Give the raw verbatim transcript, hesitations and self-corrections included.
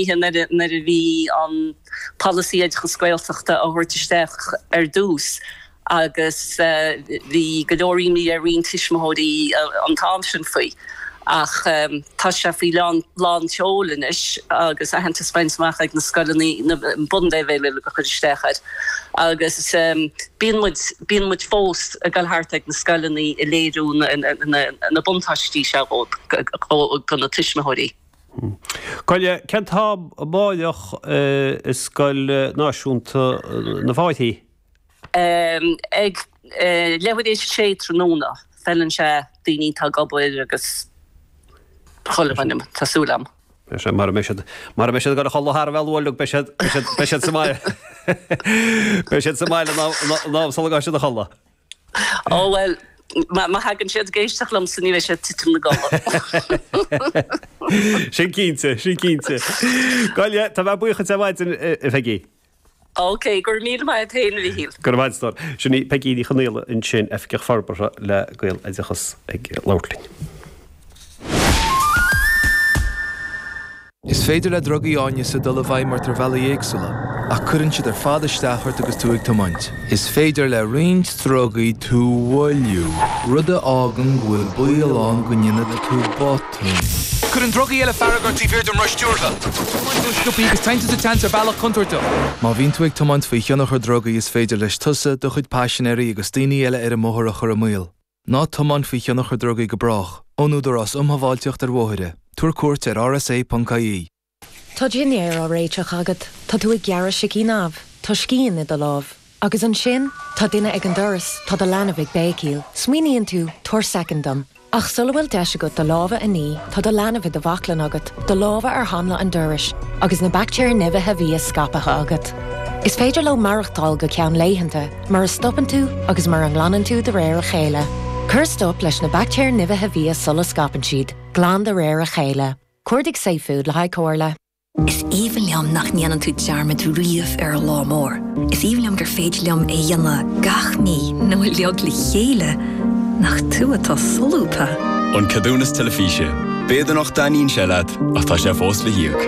Nuair a bhí an polasaí oideachas Gaeltachta á thabhairt isteach ar dtús agus bhí go leor imní ar roinnt tuismitheoirí an t-am sin faoi. Ach tá sé faoi lán tseoil anois agus aitheantas bainte amach ag na scoileanna na bunleibhéil uilig a chur isteach air. Agus bíonn muid bíonn muid fós ag dul thart ag na scoileanna ag léiriú na buntáistí seo do na tuismitheoirí. Gabh i leith, cén t-am amárach i Scoil Náisiúnta na Fáirchí? Ag leathuair tar éis a sé tráthnóna. Feileann sé daoine atá ag obair agus chuile dhuine, tá súil agam. Beidh sé, mara mbeidh siad, mara mbeidh siad ag dul a chodladh thar a bheith luath uilig, beidh siad, beidh siad, beidh siad sa mbaile. Beidh siad sa mbaile in am sula ngabhfaidh siad a chodladh. Ó bhuel, má thagann siad ag éisteacht liomsa ní bheidh siad ag titim 'na gcodladh. Sin cinnte, sin cinnte. Gabh i leith, tá mé buíoch duit ar maidin, a Pheigí. Ok, go raibh míle maith agat féin, a Mhichíl. Go raibh maith agat, a stór. Sin í Peigí Ní Chonaola ansin, Oifigeach Forbartha le Gaeloideachas ag labhairt linn. Is féidir le drugaí áineasa dul i bhfeidhm ort ar bhealaí éagsúla, ach cuireann siad ar fad isteach ort agus tú ag tiomáint. Is féidir le roinnt drugaí tú a mhoilliú, rud a fhágann go bhfuil baol ann go ndéanfaidh tú botún. Cuireann drugaí eile fearg ort taobh thiar den roth stiúrtha. Tiomáint ró-sciobtha agus téann tú sa tseans ar bhealach contúirteach. Má bhíonn tú ag tiomáint faoi thionchar drugaí is féidir leis tusa, do chuid paisinéirí agus daoine eile ar an mbóthar a chur i mbaol. Ná tiomáin faoi thionchar drugaí go brách. Ón Údarás Um Shábháilteacht ar Bhóithre, tabhair cuairt ar rsa.ie. Tá dinnéar á réiteach agat, tá tú ag gearradh sicín amh, tá scian i do lámh. Agus ansin, tá duine ag an doras, tá do leanbh ag béicíl. Smaoiníonn tú, tabhair soicind dom. Ach sula bhfuil deis agat do lámha a ní, tá do leanbh i do bhaclainn agat, do lámha ar hanla an dorais, agus na baictéir nimhithe bhia scaipthe agat. Is féidir leo maireachtáil go ceann laethanta, mura stopann tú agus mura nglanann tú de réir a chéile. Cuir stop leis na baictéir nimhithe bhia sula scaipeann siad, glan de réir a chéile. Cuardaigh safefood le haghaidh comhairle. Is aoibhinn liom nach ndéanann tú dearmad riamh ar an lá mór. Is aoibhinn liom gur féidir liom é a dhéanamh gach mí nó uilig le chéile. Nach tú atá solúbtha. An Ceadúnas Teilifíse. B'fhéidir nach dtaitníonn sé leat ach tá sé fós le híoc.